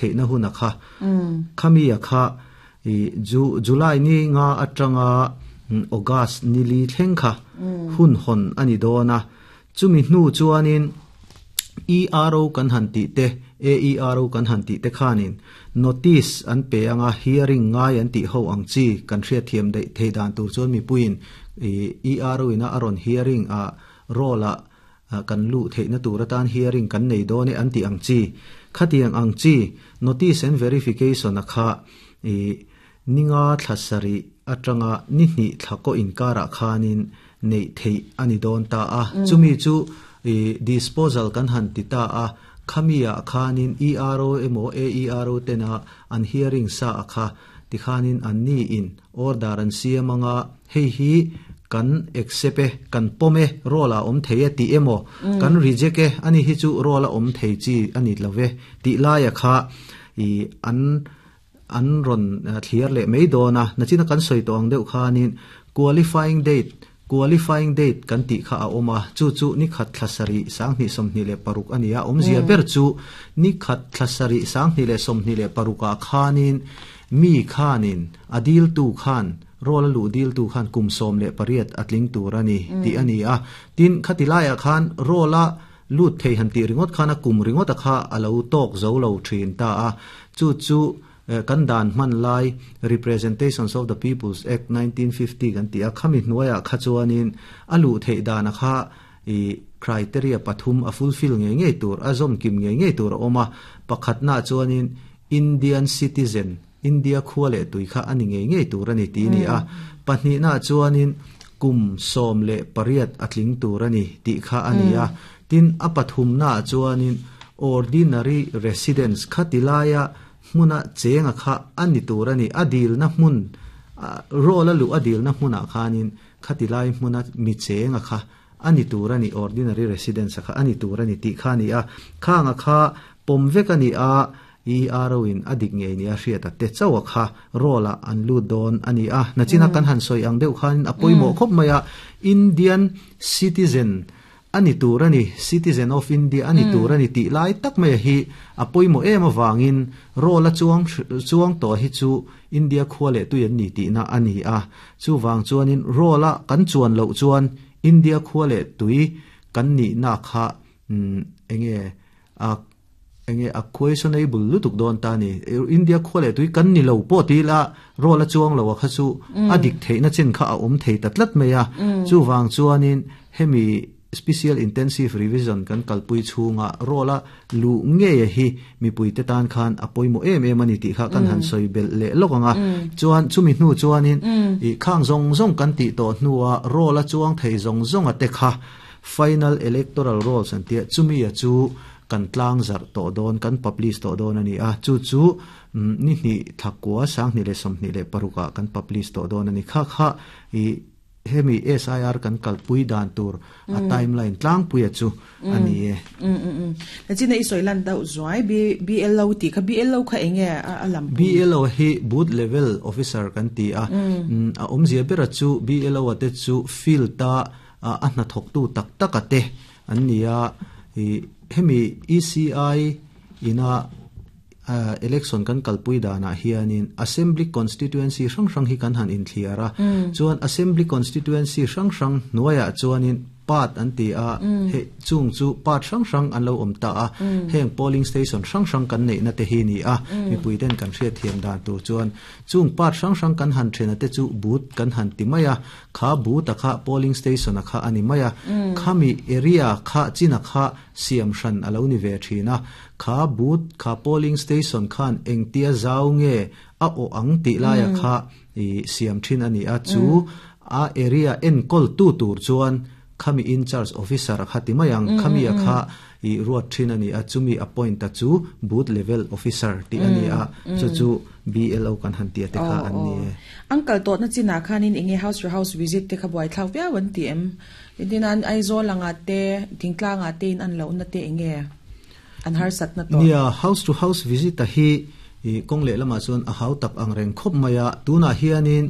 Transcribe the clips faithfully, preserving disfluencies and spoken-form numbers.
theihna hun a kha khami a kha i ju July ni nga atanga August ni li thleng kha hun hon ani dona chumi hnu chuanin E R O kan han ti te A E R O kan han ti te khanin notice an pe anga hearing ngai an ti ho ang chi kan hria thiam dei thei dan tur chuan mi puin E R O ina aron hearing a rola kan lu theina tur atan hearing kan nei done an ti ang chi khatiang ang chi notice and verification a kha e ninga thlasari atanga ni hni thlako inkara khanin nei thei ani don ta a chumi chu e disposal kan han ti ta a khamia khanin E R O emo A E R O tena an hearing sa akha ti khanin an ni in order an siamanga hei hi kan accept kan pome rola om theia ti emo kan reject e ani hi chu rola om thei chi ani love ti laia kha i an an ron thliar le mei dona nachina kan soi tong deuh khanin qualifying date qualifying date kan ti kha a oma chu chu ni khat thlasari sang ni somni le paruk ania omzia ber chu ni khat thlasari sang ni le somni le paruka khanin mi khanin adil tu khan rola lu dil tu khan kum som le pariat atling turani ti ani a tin khatilaya khan rola lut thei han ti ringot khana kum ringot kha alo tok zo lo thin ta a chu chu kan dan man lai Representations of the People's Act nineteen fifty kan ti a khami hnuaya khachuanin alu thei dan kha i criteria pathum a fulfill nge nge tur azom kim nge nge tur oma pakhatna chuanin Indian citizen India khuale tui kha ani nge nge tur ani ti ni a pahnih na chuanin kum som le pariat atling tur ani ti kha ani a tin a pathum na chuanin ordinary residence khatilaya hmuna chenga kha ani tur ani adil na hmun rola lu adil na hmuna khanin khatilai hmuna mi chenga kha ani tur ani ordinary residence kha ani tur ani ti kha ni a khanga kha pomvek ani a E R O in adik nge ni a hriata te chawa kha rola an lu don ani a nachina kan han soi ang deuh khan apoimo khop maya Indian citizen ani tur ani citizen of India ani tur ani ti lai tak mai hi apoimo em awangin rola chuang chuang to hi chu India khuale tu yan ni ti na ani a chu wang chuanin rola kan chuan lo chuan India khuale tui kan ni na kha enge a enge a questionable lutuk don ta ni India khole tui kan ni lo po ti la rola chuang lo kha chu adik theina chin kha a om thei tatlat meya chu wang chuanin hemi special intensive revision kan kalpui chunga rola lu nge hi mi puite tan khan apoimo em em ani ti kha kan han soi bel le lokanga chuan chumi hnu chuanin i khang zong zong kan ti to hnuwa rola chuang thei zong zong ate kha final electoral rolls an tia chumi a chu kan tlang zar to don kan publish to don ani a chu chu ni ni thakwa sang ni le som ni le paruka kan publish to don ani kha kha i hemi S I R kan kalpui dan tur a timeline tlang puia chu ani e mm mm mm na china i soilan dau zuai b BLO ti kha B L O kha enge a lam B L O hi booth level officer kan ti a a omzia bera chu B L O ate chu field ta a hna thok tu tak tak ate an nia i hemi E C I ina uh, election kan kalpui dana hianin assembly constituency hrang hrang hi kan han in thliara chuan assembly constituency hrang hrang nuaya chuanin part an ti a he chung chu part hrang hrang an lo om ta a heng polling station hrang hrang kan nei na te hi ni a mi puiten kan hriat thiam dan tur chuan chung part hrang hrang kan han thena te chu booth kan han ti maya kha booth a kha polling station a kha ani maya khami area kha china kha siam hran alo ni ve thina kha booth kha polling station khan engtia zau nge a o ang ti laia kha i siam thin ani a chu a area en kol tu tur chuan khami in charge officer khati mayang khami a kha i ruat thin ani a chumi appoint ta chu booth level officer ti ani a chu chu B L O kan han ti te kha an ni uncle to na china khanin enge house to house visit te kha buai thlau pia wan ti em din an Aizawl anga te thingtla nga te in an lo na te enge an har sat na to nia house to house visit ta hi i kong le lama chuan a hau tak ang reng khop maya tuna hianin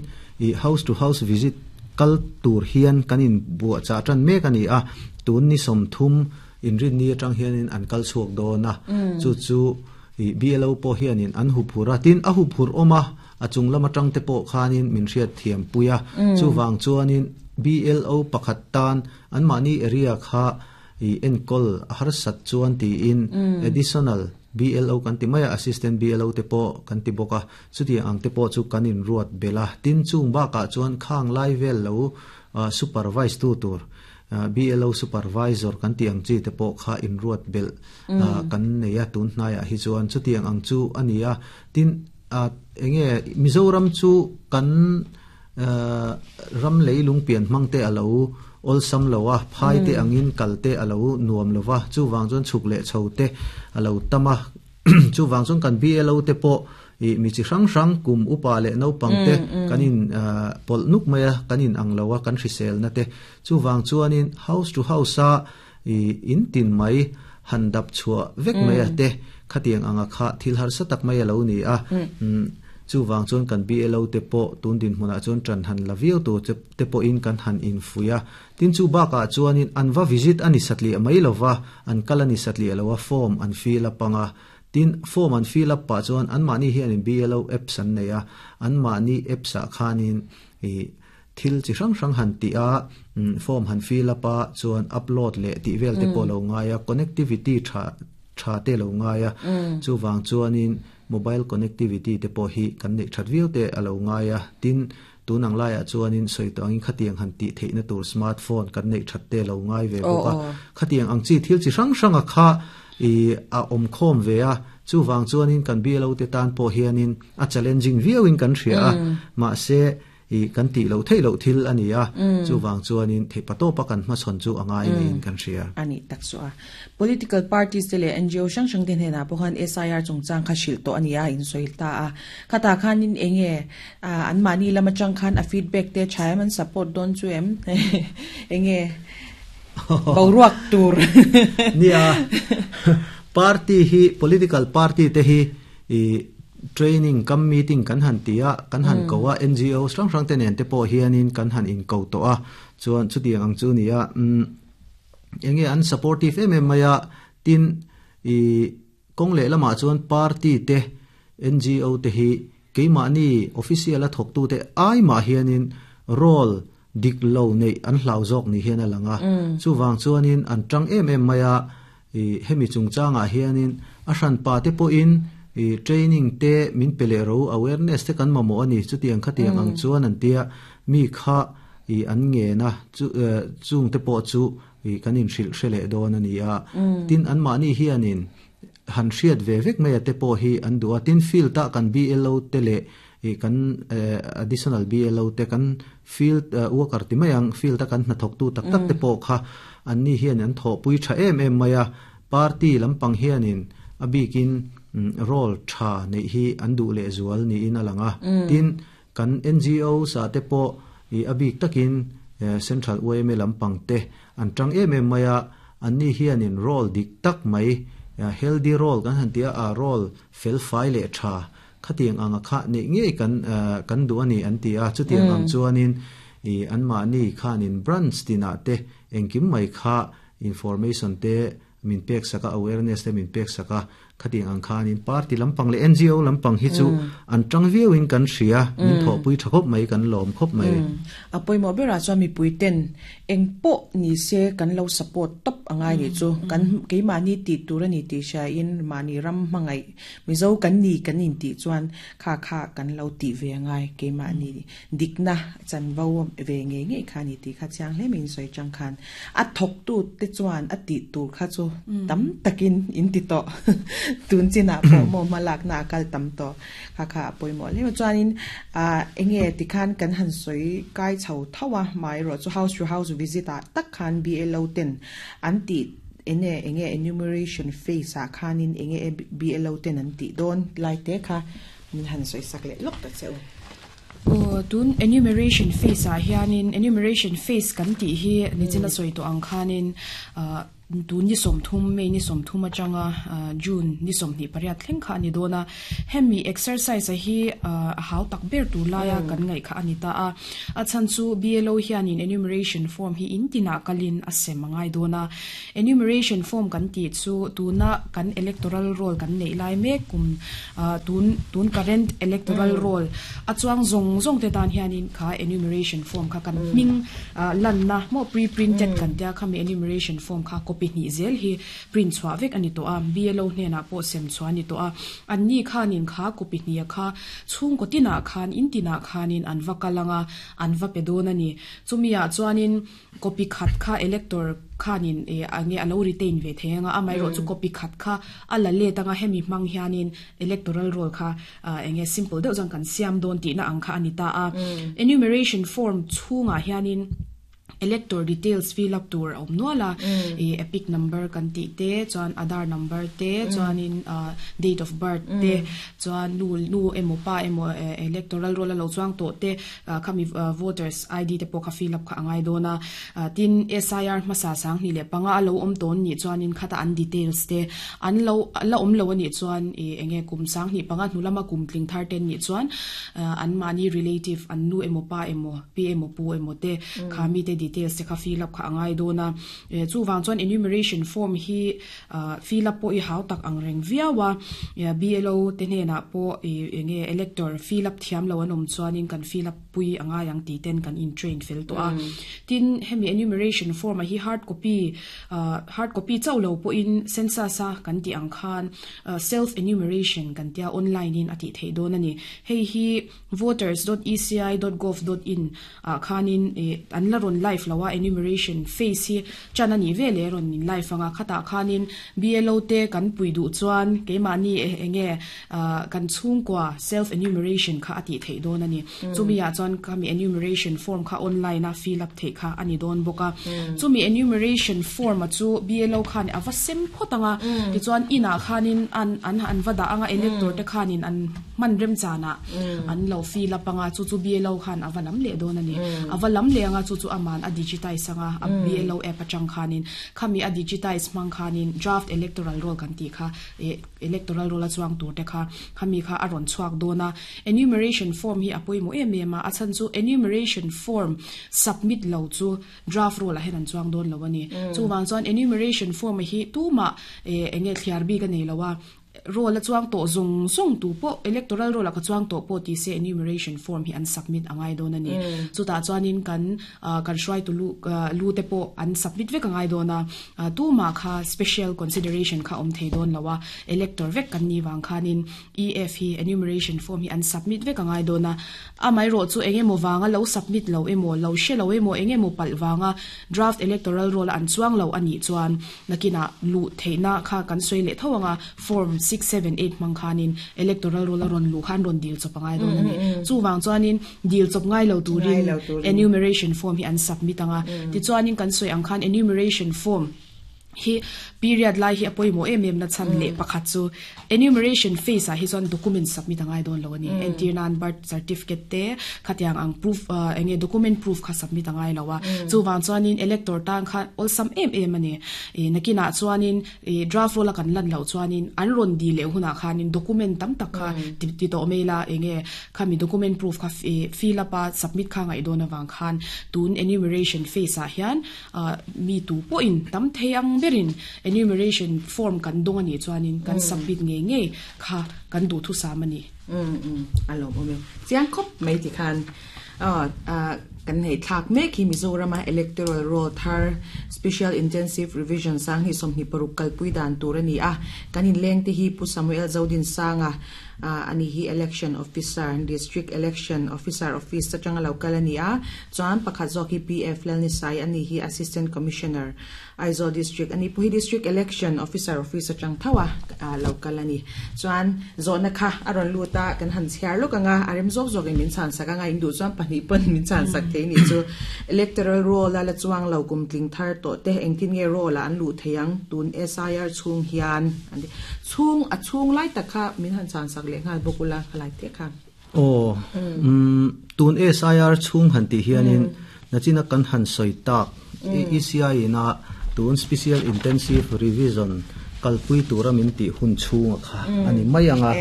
i house to house visit kal tur hian kanin bua cha tan mek ani a tun ni som thum in rin ni atang hianin an kal chuak do na chu chu i B L O po hianin an hu phura tin a hu phur oma a chung lama tang te pawh khanin min hriat thiam puia. Chu wang chuanin B L O pakhat tan an mani area kha i enkol har sat chuan ti in additional B L O kan ti maya, assistant B L O te po kan ti boka. Chuti ang te po chu kanin ruat bela tin chung ba ka chuan khang lai vel lo uh, supervise tu tur uh, B L O supervisor kan ti ang chi te po kha in ruat bel uh, kan neya tun hnaya hi chuan chutiang ang chu ania. Tin uh, enge Mizoram chu kan uh, ram leilung pian mangte alo ol sam lowa phai te angin kalte alo nuam lowa. Chu wang chon chuk le chho te alo tama. Chu wang chon kan B L O te po i mi chi hrang hrang kum upa le no pangte kanin pol nuk maya kanin ang lowa kan hrisel na te. Chu wang chuanin house to house a i in tin mai han dap chua vek maya te khatiang anga kha thil har sa tak mai alo ni a. Chu wang chuan kan B L O te po tun din hmuna chuan tran han laviu tu te po in kan han in fuya. Tin chu ba ka chuanin an va visit ani satli mai lova, an kalani satli alowa, form an fill up anga. Tin form an fill up pa chuan an mani hian in B L O apps an neia, an mani apps a khanin i thil chi hrang hrang han ti a, form han fill up a chuan upload le ti vel te po lo ngaia, connectivity tha tha te lo ngaia. Chu wang chuanin mobile connectivity te po hi kan nei that viau te alo ngaia. Tin tunang laia chuanin soito angin khatiang han ti theina tur smartphone kan nei that te lo ngai ve boka. Khatiang ang chi thil chi hrang hrang a kha i a om khom ve a. Chu wang chuanin kan B L O te tan po hianin a challenging viau in kan hria a, ma se i kan ti lo thei lo thil ani a. Chu wang chuanin thei pato pa kan ma chon chu anga in kan hria. Ani tak so a political parties te le N G O sang sang ten hena pohan S I R chungchang kha shil to ani a in soil ta a. Khata khanin enge an mani lama chang khan a feedback te chaiman support don chu em enge boruak tur? Nia, party hi, political party te hi i training kam meeting kan han tia kan han kowa, N G O sang sang te nen te po hianin kan han in ko to a. Chuan chutiang ang chu nia, um enge an supportive em em maya. Tin i kong le lama chuan party te N G O te hi keima ni official a thok tu te ai ma hianin role dik lo nei an hlau zok ni hian alanga. Chu wang chuanin an tang em em maya. I hemi chungchanga hianin a hran pa te po in i training te min pele ro, awareness te kan mamo ani, chutiang khatiang ang chuan an tia mi kha i an nge na chu chung te po chu i kanin hril hrele don ani a. Tin an mani hianin han hriat ve vek mai te po hi an duwa. Tin field ta kan B L O te le i kan additional B L O te, kan field worker ti mayang, field ta kan na thok tu tak tak te po kha an ni hian an tho pui tha em em maya. Party lampang hianin abikin role tha nei hi an du le zual ni in alanga. Tin kan N G O sa te po i abik takin Central U M A lampang te an tang em em maya. An ni hianin role dik tak mai, healthy role kan han tia a, role fel fai le tha khatiang anga kha nei nge kan kan du ani an ti a. Chutiang ang chuanin i an ma ni khanin branch tina te engkim mai kha information te min pek saka, awareness te min pek saka. Khatiang ang khanin party lampang le N G O lampang hi chu an tang viau in kan hria, min tho pui thakop mai, kan lom khop mai. Apoi mo bera chuan mi puiten eng po ni se kan lo support top angai ni chu kan ke mani ti tur ani ti sha in mani ram mangai mizo kan ni kan in ti chuan kha kha kan lo ti ve ngai ke mani dikna chan bo ve nge nge kha ni ti kha chang hle min soi chang khan a thok tu te chuan a ti tur kha chu tam takin in ti to tun china po mo malak na kal tam to kha kha poi mo le chuan in a enge ti khan kan han soi kai chho thawa mai ro chu house to house visit a tak khan B L O ten an ti ene enge enumeration phase a khanin enge B L O ten an ti don lai te kha min han soi sak le lok ta cheu. O tun enumeration phase a hianin, enumeration phase kan ti hi ni china soi to ang khanin. Tu ni som thum May ni som thum atanga June ni som ni pariat thleng kha ani dona. Hemi exercise a hi a hau tak ber tu laia kan ngai kha ani ta a. A chan chu B L O hianin enumeration form hi intina kalin a sem angai dona. Enumeration form kan ti chu tuna kan electoral roll kan nei lai me kum tun tun current electoral roll a chuang zong zong te tan hianin kha enumeration form kha kan ming lan na mo pre-printed kan tia khami enumeration form kha copy ni zel hi print chwa vek ani to a. B L O hne na po sem chwa ni to a. An ni khanin kha copy ni kha chung ko tina khan in tina khanin an va kalanga an va pe don ani. Chumia chuanin copy khat kha elector khanin e ange alo retain ve thenga amai ro chu copy khat kha ala le tanga. Hemi mang hianin electoral roll kha enge simple deuh jang kan siam don ti na ang kha ani ta a. Enumeration form chunga hianin elector details fill up tur om nuala e EPIC number kan ti te, chuan Aadhaar number te, chuan in date of birth te, chuan nu nu emo pa emo electoral roll lo chuang to te khami voters I D te pawh kha fill up kha angai dona. Tin S I R hmasa sang ni le panga alo om ton ni chuan in khata an details te an lo la om lo ani chuan e enge kum sang ni panga hnulama kum tling thar ten ni chuan an mani relative an nu emo pa emo pi emo pu emo te khami te details te kha fill up kha angai dona. Chu wang chuan enumeration form hi fill up po i hau tak ang reng viawa. B L O te hne na po enge elector fill up thiam lo anom chuan in kan fill up pui anga yang ti ten kan in train fel to a. Tin hemi enumeration form a hi hard copy hard copy chau lo po in census a kan ti ang khan self enumeration kan tia online in ati thei don ani. Hei hi voters dot E C I dot gov dot in a khanin an la ron live lawa. Enumeration phase hi chanani vele ron in live anga khata khanin B L O te kan pui du chuan keimani enge kan chung kwa self enumeration kha ati thei don ani. Chumi ya chuan kami enumeration form kha online a fill up thei kha ani don boka. Chumi enumeration form a chu B L O khan awa sem photanga ti chuan ina khanin an an an wada anga elector te khanin an man rem chana an lo fill up anga chu chu B L O khan awa lam le don ani. Awa lam le anga chu chu aman a digitize anga a B L O app atang khanin khami a digitize mang khanin draft electoral roll kan ti kha electoral roll a chuang tur te kha khami kha aron chuak dona. Enumeration form hi apoi mo em em a. Achan chu enumeration form submit lo chu draft roll a hen an chuang don lo ani. Chu wang chuan enumeration form hi tu ma enge thliar bi ka nei lowa. Roll a chuang to zung zung tu po electoral roll a ka chuang to po ti se enumeration form hi an submit angai don ani. Chu ta chuanin kan kan hruai tu lu lu te po an submit vek angai dona. Tu ma kha special consideration kha om thei don lawa. Elector vek kan ni wang khanin E F hi enumeration form hi an submit vek angai dona. Amai ro chu enge mo wanga lo submit lo emo lo she lo emo enge mo pal wanga draft electoral roll an chuang lo ani chuan nakina lu theina kha kan soi le thawanga form six seven eight mang khanin electoral roll ron lu khan ron dil chop angai don ani. Chu wang chuanin dil chop ngai lo turin enumeration form hi an submit anga. Ti chuanin kan soi ang khan enumeration form hi period lai hi apoi mo em em na chan le pakhat chu enumeration phase a hi chuan document submit angai don lo ani. Entir nan birth certificate te khatiang ang proof enge document proof kha submit angai lawa. Chu wang chuanin elector tang kha ol sam em em ani e nakina chuanin e draft roll kan lan lo chuanin an ron di le huna khanin document tam tak kha ti ti to mela enge khami document proof kha fill up a submit kha ngai don awang khan tun enumeration phase a hian mi tu po in tam thei ang berin enumeration form kan dong ani chuanin kan submit nge nge kha kan du thu sam ani. um um alo ome chiang khop mai ti khan a a kan hei thak me khi Mizoram electoral roll thar special intensive revision sang hi som hi paruk kalpui dan tur ani a. Kanin leng te hi Pu Samuel Zodin Sanga ani hi election officer, district election officer office atanga local ani a. Chuan pakhat zawk hi P F Lalni Sai ani hi assistant commissioner, Aizawl district ani pu hi district election officer office atang thawa local ani. Chuan zona kha aron luta kan han chhiar lo kanga arem zawk zawk in min chan saka nga indu chuan pahnih pon min chan sak thei ni chu. Electoral roll la chuang lo kum tling thar to te engtin nge roll an lu theiang tun S I R chung hian ani chung a chung lai takha min han chan sak le ngal bokula khalai te kha. O um tun S I R chung han ti hianin nachina kan han soi tak E C I na Tun special intensive revision kalpui tura min ti hun chhunga kha ani mai anga.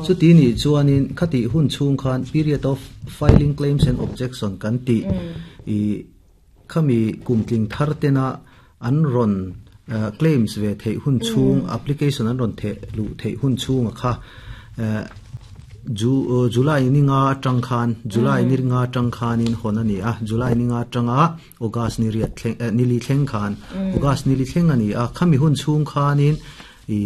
Chu ti ni chuanin khati hun chhung khan period of filing claims and objection kan ti i khami kumtling thar tena an ron claims ve thei hun chung application an ron the lu thei hun chunga kha ju July ni nga tang khan July ni nga tang khan in hon ani a July ni nga tanga August ni riat thleng ni li thleng khan August ni li thleng ani a khami hun chung khanin i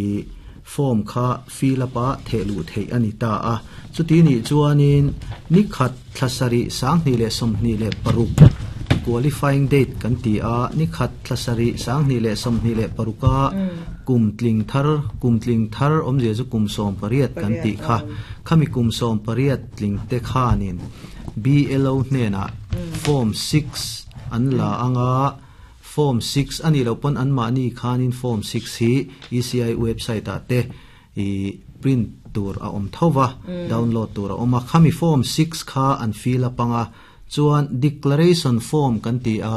form kha fill up a the lu thei ani ta a. Chuti ni chuanin ni khat thlasari sangni le somni le paruk qualifying date kan ti a ni khat thlasari sangni le somni le paruka kumtling thar kumtling thar omje chu kumsom pariat kan ti kha khami kumsom pariat tling te khanin B L O hne na form six an la anga form six ani lo pon an ma ni khanin form six hi E C I website a te i print tur a om thowa download tur a oma khami form six kha an fill up anga chuan declaration form kan ti a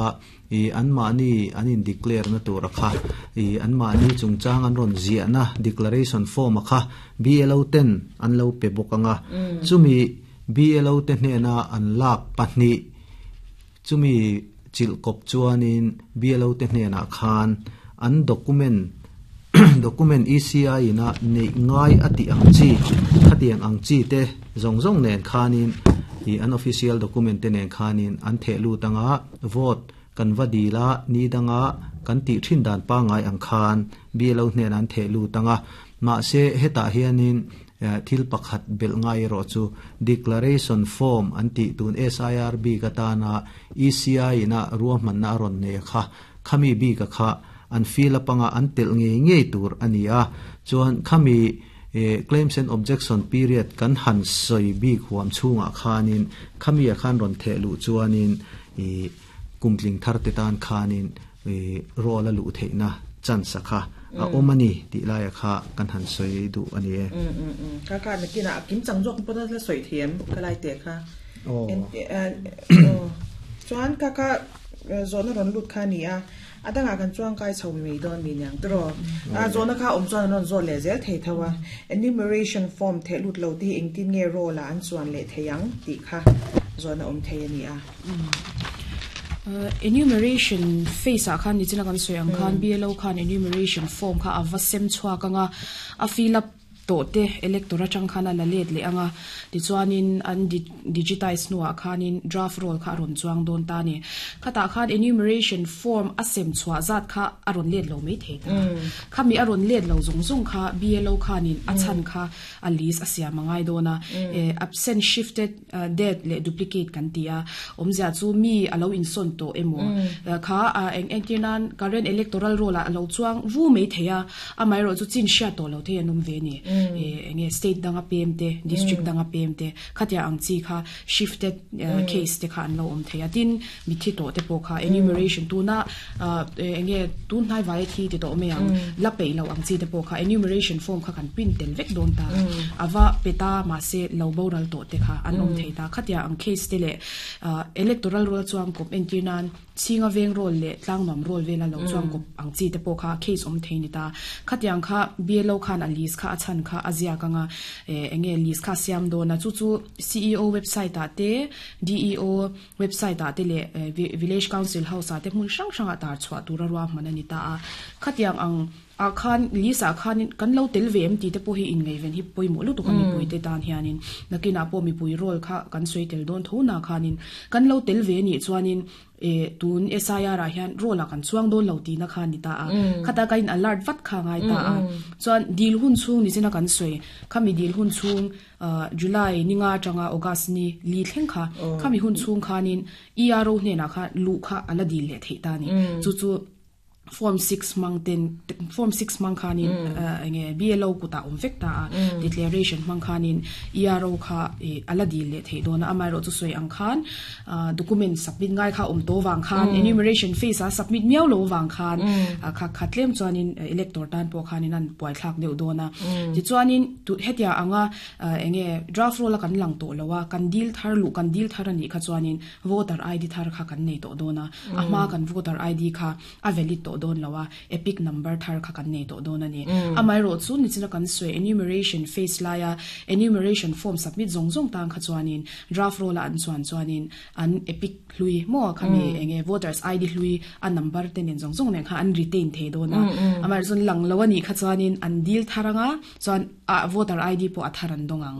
i an ma ni an in declare na tur kha i an ma ni chungchang an ron zia na declaration form kha B L O ten an lo pe bokanga chumi B L O te hne na an lak pahni chumi chil kop chuanin B L O te hne na khan an document document E C I na nei ngai ati ang chi khatiang ang chi te zong zong nen khanin i an official document te nen khanin an the lu tanga vote kan vadila ni danga kan ti thin dan pa ngai ang khan B L O hnen an the lu tanga ma se heta hianin thil pakhat bel ngai ro chu declaration form an ti tun S I R B ka ta na E C I na ruahman na ron ne kha khami bi ka kha an fill up anga an tel nge nge tur ania chuan khami claims and objection period kan han soi bi khuam chunga khanin khami a khan ron the lu chuanin i kumtling thar te tan khanin e rola lu theina chance kha a omani ti lai kha kan han soi du ani e. Mm mm mm ka ka na kina kim chang jok pon la soi thiam ka lai te kha o chuan ka ka zona ron lut kha ni a adanga kan chuang kai chho mi don mi nyang tro a zona kha om chuan ron zo le zel thei thawa enumeration form the lut lo ti engtin nge ro la an chuan le theyang ti kha zona om thei ani a. Uh, enumeration phase a khan ni china kan soi ang khan B L O khan enumeration form kha awa sem chhuwa kanga a fill up to te electora chang khana la let le anga ti chuanin an digitize nuwa khanin draft roll kha ron chuang don ta ni khata khan enumeration form asem chhuwa zat kha aron let lo mai thei ta khami aron let lo zong zong kha B L O khanin achan kha a list asia mangai dona absent shifted dead le duplicate kan tia omzia chu mi alo in son to emo kha eng engtinan current electoral roll a lo chuang vu mai theia amai ro chu chin sha to lo the anom ve ni enge state danga P M te district danga P M te khatia ang chi kha shifted case te kha an lo om theia tin mi thi to te po kha enumeration tu na enge tun hnai vai thi ti to me ang la pe lo ang chi te po kha enumeration form kha kan print tel vek don ta awa peta ma se lo boral to te kha an om theita khatia ang case te le electoral roll chuang kop entirnan chinga veng roll le tlangnam roll vela lo chuang kop ang chi te po kha case om theini ta khatiang kha B L O khan a list kha achan kha azia kanga enge list kha siam do na chu chu C E O website a te D E O website a te le village council house a te hmun sang sang a tar chwa tura ruwa manani ta a khatiang ang a khan lisa khan kan lo tel vem ti te po hi in ngai ven hi poi mo lu tu kan mi pui te tan hianin nakina po mi pui rol kha kan soi tel don tho na khanin kan lo tel ve ni chuanin e tun S I R a hian rol a kan chuang don lo ti na khan ni ta a khata ka in alert vat kha ngai ta a chuan dil hun chung ni china kan soi khami dil hun chung July ninga tanga August ni li thleng kha khami hun chung khanin E R O hne na kha lu kha ala dil le thei ta ni chu chu form six mang ten form six mang khanin enge B L O kuta om vek ta declaration mang khanin E R O kha ala dil le thei dona amai ro chu soi ang khan document submit ngai kha om to wang khan enumeration phase a submit miau lo wang khan kha khatlem chuanin elector tan po khanin an puai thlak deuh dona ti chuanin tu hetia anga enge draft roll kan lang to lowa kan deal thar lu kan deal thar ani kha chuanin voter I D thar kha kan nei to dona ama kan voter I D kha a valid to don lowa epic number thar kha kan nei to don ani amai ro chu ni china kan soi enumeration phase laya enumeration form submit zong zong tang kha chuanin draft roll an chuan chuanin an epic hlui mo khami enge voters id hlui a number ten en zong zong ne kha an retain the do na amar zon lang lawani kha chuanin an dil tharanga chuan a voter id po atharan dongang.